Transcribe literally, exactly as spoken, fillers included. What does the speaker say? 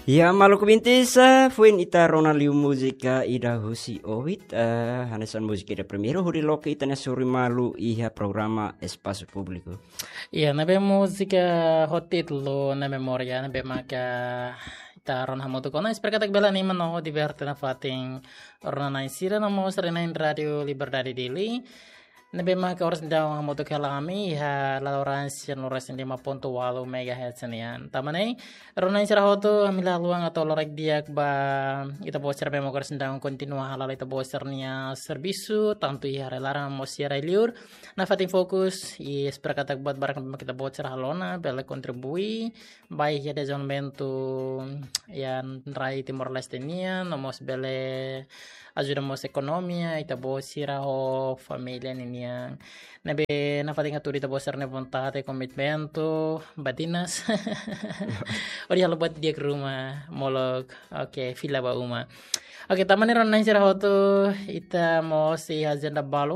Ya, maluk bintis, ah, foin ita rona liu múzika ida husi Owit, ah, hanesan múzika ida primeiru hodi loke ita-nia sorin malu iha programa Espasu Públiku. Ya, ne'ebé múzika ho títulu Na Memória, ne'ebé maka ita rona hamutuk ona, espera katak bele anima no diverte nafatin rona-na'in sira no mós rona-na'in Rádio Liberdade Dili. Ne'ebé maka oras daudaun hamutuk hela ami iha laloran cien lima ponto walu megahertz nian. Tanba ne'e, rona-na'in sira hotu, ami la haluha atu halo lorokraik di'ak ba ita-boot sira ne'ebé maka oras daudaun kontinua hala'o ita-boot sira-nia servisu, tantu iha rai-laran no mós iha rai-liur. Nafatin fokus, i espera katak buat barak ne'ebé ita-boot sira halo ona, bele kontribui ba iha dezenvolvimentu iha rai Timor-Leste nian, no mós bele ajuda mós ekonomia ita-boot sira ho família ninian. Ne'ebé nafatin hatudu ita-boot sira-nia vontade, komitmentu, badinas. Hodi halo buat di'ak ruma, molok, oke, fila ba uma. Oke, tanba ne'e rona-na'in sira hotu, ita mós iha ajenda balun,